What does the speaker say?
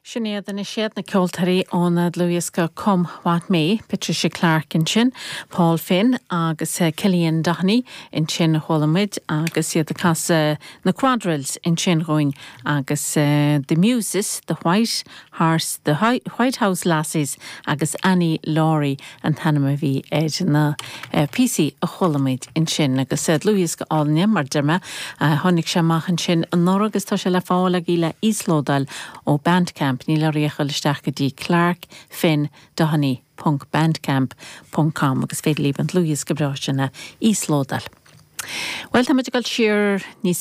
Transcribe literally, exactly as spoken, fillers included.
Sin iad na siad na ceoltóirí ón dlúthdhiosca Come What May, Patricia Clarke ansin, Paul Finn agus eh, Cillian Doheny ansin chuala muid agus iad ag casadh na quadrilles ansin dhúinn agus uh, The Muses, The White Horse, The White House Lassies agus Annie Laurie an t-ainm a bhí ar na uh, píosaí a chuala muid ansin agus uh, dlúthdhiosca álainn mar a deir mé uh, tháinig sé amach ansin anuraidh agus tá sé le fáil agaibh le íoslódáil ó Bandcamp níl oraibh ach dul isteach go dtí Clark Finn Doheny ponc bandcamp ponc com agus féidir libh an dlúthdhiosca breá sin a íoslódáil. Well tá muid ag dul siar níos